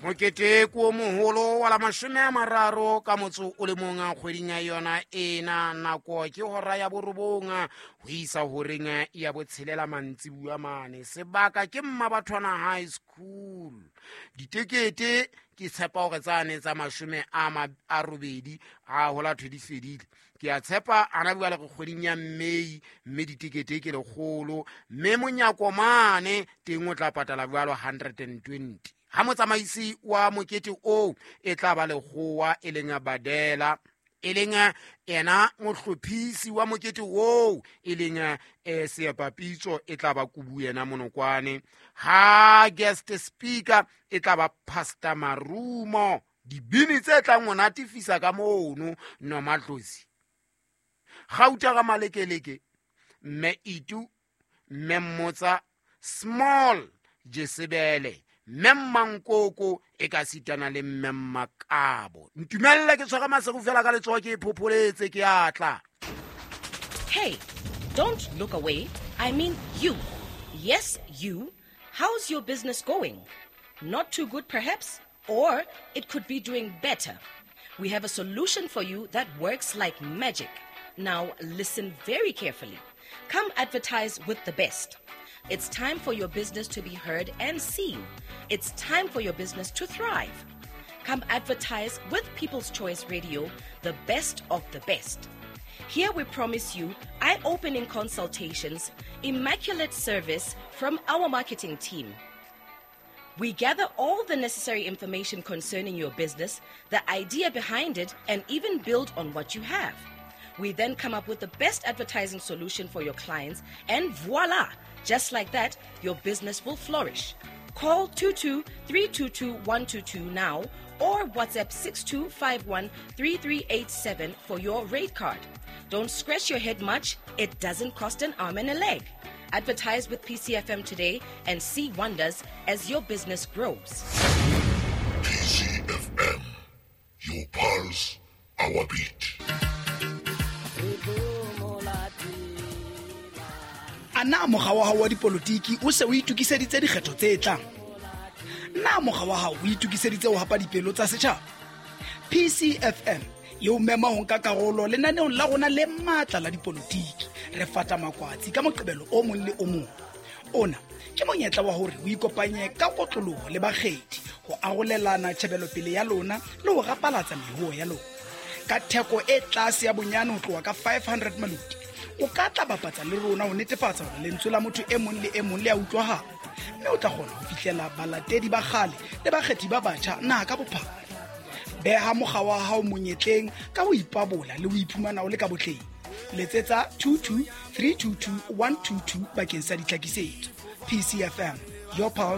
Moketeko o moholo wa la 30 ka motso o le mong kgweding ya yona ena. Nako ke hora ya 9 ho isa horeng ya 6 mantsibuya mane. Sebaka ke Mmabathwana High School. Ditekete ke tshepa hore tsane tsa 80 a hola thwe di fedile. Ke a tshepa ana bua le re kgweding ya May, mme ditekete ke 100, mme monyako mane teng o tla patala jwalo 120. Ha motsamaisi wa mokete oo e tla ba lekgowa e leng Badela, e leng ena mohlophisi wa mokete oo e leng Seepapitso, e tla ba Kubu yena Monokwane. Ha guest speaker e tla ba Pastor Marumo. Dibini tse tlang ho natefisa ka mono Nomadlozi, Gauta ga Malekeleke, Mme Itu, Mme Mmotsa, Small Jesebele, Mme Mmankoko, e ka sitana le Mme Mmakabo. Ntumelle ke tshwara masego fela ka letsoho, ke phopholetse, ke atla. Hey, don't look away. I mean you. Yes, you. How's your business going? Not too good perhaps? Or it could be doing better. We have a solution for you that works like magic. Now listen very carefully. Come advertise with the best. It's time for your business to be heard and seen. It's time for your business to thrive. Come advertise with People's Choice Radio, the best of the best. Here we promise you eye-opening consultations, immaculate service from our marketing team. We gather all the necessary information concerning your business, the idea behind it, and even build on what you have. We then come up with the best advertising solution for your clients, and voila! Just like that, your business will flourish. Call 22-322-122 now or WhatsApp 6251-3387 for your rate card. Don't scratch your head much. It doesn't cost an arm and a leg. Advertise with PCFM today and see wonders as your business grows. PCFM, your pulse, our beat. A na mokga wa hao wa dipolotiki o se o itokiseditse dikgetho tse tlang? Na mokga wa hao o itokiseditse ho hapa dipelo tsa setjhaba? PCFM e o mema ho nka karolo lenaneong la rona le matla la dipolotiki. Re fata makwatsi ka Moqebelo o mong le o mong. Ona ke monyetla wa hore o ikopanye ka kotloloho le bakgethi ho arolelana tjhebelopele ya lona le ho rapalatsa mehuo ya lona. Ka theko e tlase ya bonyane ho tloha ka 500 maloti, o ka tla bapatsa le rona ho netefatsa hore lentswe la motho e mong le e mong le a utlwahala, mme o tla kgona ho fihlela balatedi ba kgale le bakgethi ba batjha naha ka bophara. Beha mokga wa hao monyetleng ka ho ipabola le ho iphumana o le ka botleng. Letsetsa 22-322-122 bakeng sa ditlhakisetso. PCFM, your pulse,